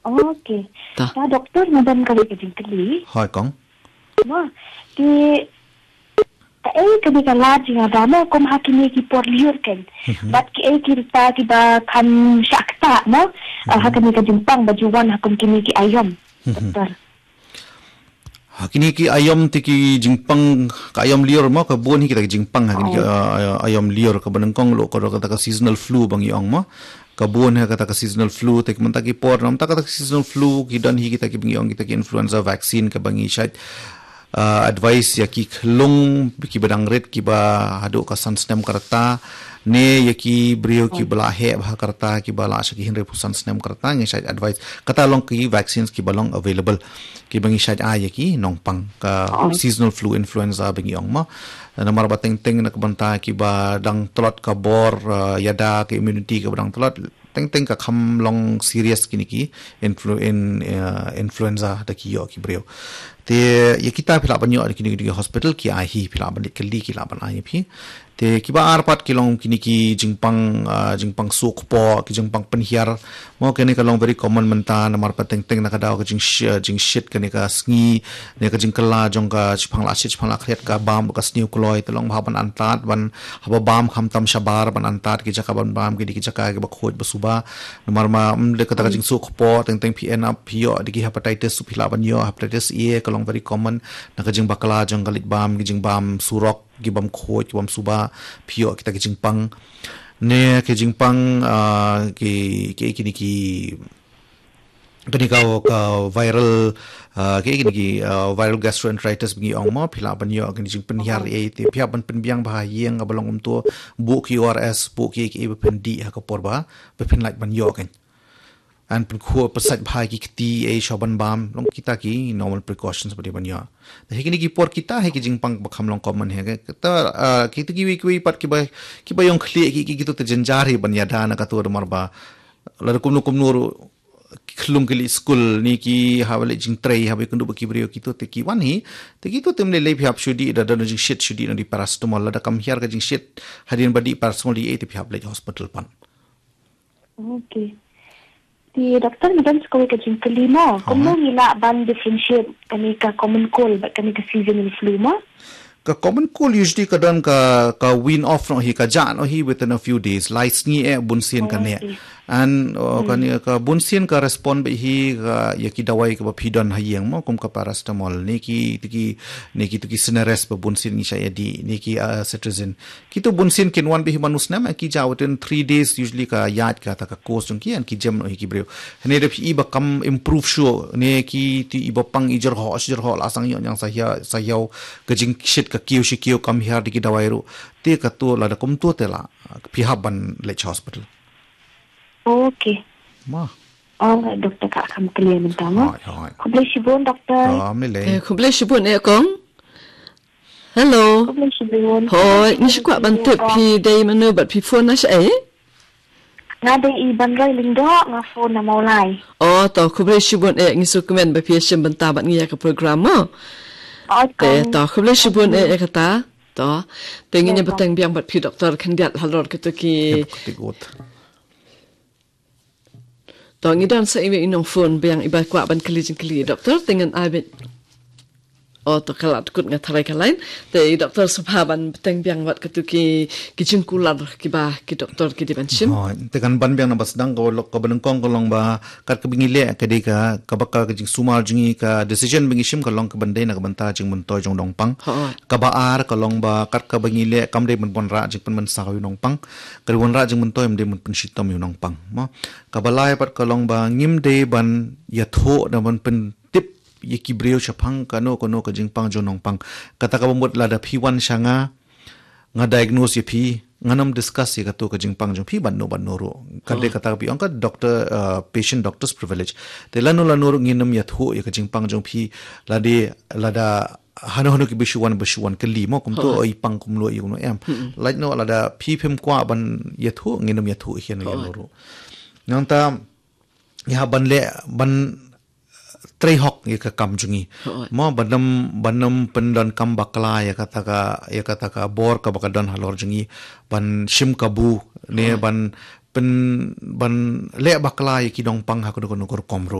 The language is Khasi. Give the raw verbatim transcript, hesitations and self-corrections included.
Okay. Ta. Ta doktor, nga don kawei ka jingkylli. Hoi kong. Mo, ki, kaei kane ka lad jingïada mo, kum ha kine ki por lyiur kan. Mhm. Bad kiei ki rta kiba kham shah ktah mo, ah, ha Mhm. kane ka jingpang ba ju wan ha kum kine ki aïom. Mhm. Doktor. Ha kine ki aïom te ki jingpang, ka aïom lyiur mo, ka bun hi kita ki jingpang ha kine ki, Oh. ah, aïom lyiur, kaba nyngkong ruh ka dei kata ka seasonal flu ba ngi ong mo. Ka bun hi kata ka seasonal flu, te mynta ki por, mynta kata ka seasonal flu, ki don hi kita kiba ngi ong kita ki influenza vaccine kaba ngi shait, ah, advice ïa ki khyllung kiba dang rit kiba haduh ka san snem ka rta, ne ïa ki briew kiba la heh bha ka rta, kiba la sha ki hynriewphew san snem ka rta, ngi shait advice. Kata long ki vaccines kiba long available, kiba ngi shait ai ïa ki nongpang, ka Oh. seasonal flu influenza ba ngi ong mo. Namar ba teng teng na ka bynta kiba dang tlot ka bor, ah, ïada, ka immunity kaba dang tlot, teng teng ka kham long serious kine ki influ-, in, ah, influenza da ki ïoh ki briew. Te ïa kita phi lah ban ïoh da kine ki hospital, ki ai hi, phi lah ban leit kylli, ki lah ban ai ïa phi. Te kiba ar pat ki long kine ki jingpang, ah, jingpang suk po, ki jingpang pynhiar. Mo, kane ka long very common mynta, namar pat teng teng na ka daw ka jingsh-, jingshit kane ka sngi, ne ka jingkylla jong ka shipang la shit, shipang la khriat, ka bam ka sniew kloi, te long bha ban antad, ban haba bam khamtam shabar, ban antad ki jaka ban bam, ki dei ki jaka kiba khuid ba suba. Namar ma, mm, de kata ka jingsuk kpoh, teng teng phi end up phi ïoh de ki hepatitis, phi lah ban ïoh hepatitis A, ka long very common, na ka jingbakla jong ka leit bam, ki jingbam surok, ki bam khuid, ki bam suba, phi ïoh kita ki jingpang. Ne ki jingpang, ah, ki, ki, kine ki, kane ka, ka viral, ah, ki, kine ki, ah, viral gastroenteritis ba ngi ong mo, phi lah ban ïoh kine jingpynhiar ei, te phi hap ban pynbiang bha ha ïing, haba long kumto, buh ki O R S, buh ki, ki, ba phin dih ha ka por ba, ba phin lah ban ïoh kan. An pynkhur pynsait bha ki kti, ei, shuwa ban bam, long kita ki normal precautions ba dei ban ïoh. Te hi kine ki por kita hi ki jingpang ba kham long common hi, kata, ah, kita kiwei kiwei pat kiba, kiba ïong khlieh ki, ki, kito te jynjar hi ban ïada na kato, namar ba lada kumno kumno ruh ki khyllung ki leit skul, ne ki haba leit jingtrei, haba ïakynduh bad ki briew, kito te ki wan hi, te kito te ym lei lei, phi hap shu dih, da don jingshit shu dih noh da paracetamol, lada kam hiar ka jingshit hadien ba dih paracetamol, dih ei, te phi hap leit hospital pat. Okay. Te doktor, nga don sa kawei ka jingkylli mo. Kumno ngi lah ban differentiate kane ka common cold bad kane ka seasonal flu mo? Ka common cold usually ka don ka, ka wean off noh hi, ka jah noh hi within a few days. Lai sngi eh bunsien ka neh. Okay. And, uh, kane ka bunsien ka respond beit hi ka, ïa ki dawai kaba phi don ha ïing mo, kum ka paracetamol, ne ki, ki, ne kito ki Sinarest ba bunsien ngi shah ïa dih, ne ki, uh, cetirizine. Kito bunsien kin wan beit hi man u snem, eh, ki jah within three days, usually ka ïaid kata ka course jong ki, and ki jem noh hi ki briew. Hynrei da phi i ba kam improve shuh, ne kito i ba pang i jyrhoh, shi jyrhoh la sangeh ïa nang sa hiar, sa hiar, ka jingshit ka kiew shi kiew kam hiar da ki dawai ruh. Te kato lada kumto te la, phi hap ban leit sha hospital. Okay. Ma. Alright, doktor, ka kham clear mynta mo. Hoi, hoi. Khublei shibun, doktor. Ka mlei. Eh, khublei shibun eh kong. Hello. Khublei shibun. Hoi, ngi shu kwah ban tip phi dei mano bad phi phone na shaei? Nga dei i Banroi Lyngdoh, nga phone na Mawlai. Oh, to, khublei shibun eh, ngi sngewkmen ba phi ïashim bynta bad ngi ïa ka program mo. Oh, te, to, khublei shibun eh, eh kata. To, te ngin ïa bteng biang bad phi doktor khyndiat halor kito ki. Ïa, kito ki. To, ngi don sa iwei i nongphone biang iba kwah ban kylli jingkylli doktor, te ngan ai beit. Oh, to, ka la dkut, nga tharai ka line. Te i doktor sngewbha ban bteng biang wat katu ki, ki jingkular kiba ki doktor ki dei ban shim. Oh, te kan ban biang na ba sdang ka lok kaba nyngkong ka long ba kat kaba ngi leh ka dei ka, kaba ka, ka jingsumar jong ngi, ka decision ba ngi shim ka long ka ban dei na ka bynta jingmyntoi jong u nongpang. Kaba ar ka long ba kat kaba ngi leh kam dei ban wanrah jingpynmynsaw ïa u nongpang. Ka dei wanrah jingmyntoi, ym dei ban pynshitom ïa u nongpang. Mo. Kaba lai pat ka long ba ngim dei ban ïathuh, da ban pyntip ïa ki briew shaphang kano kano ka jingpang jong u nongpang. Kata kaba mut lada phi wan sha nga, nga diagnose ïa phi, ngan ym discuss ïa kato ka jingpang jong phi bad no bad no ruh. Ka dei kata kaba ong ka doctor, uh, patient doctor's privilege. Te lano lano ruh ngin ym ïathuh ïa ka jingpang jong phi, lada, lada hano hano kiba shu wan, ba shu wan kylli mo, kumto, oh, i pang kumno, i kumno em. Lait noh lada phi phim kwah ban ïathuh, ngin ym ïathuh hi ïa no ïa no ruh. Nangta, ïa ban leh, ban trei hok ïa ka kam jong ngi. Mo, ban ym, ban ym pyndonkam bakla ïa kata ka, ïa kata ka bor kaba ka don halor jong ngi. Ban shim kabu, ne, ban pyn, ban leh bakla ïa ki nongpang ha kano kano ka rukom ruh.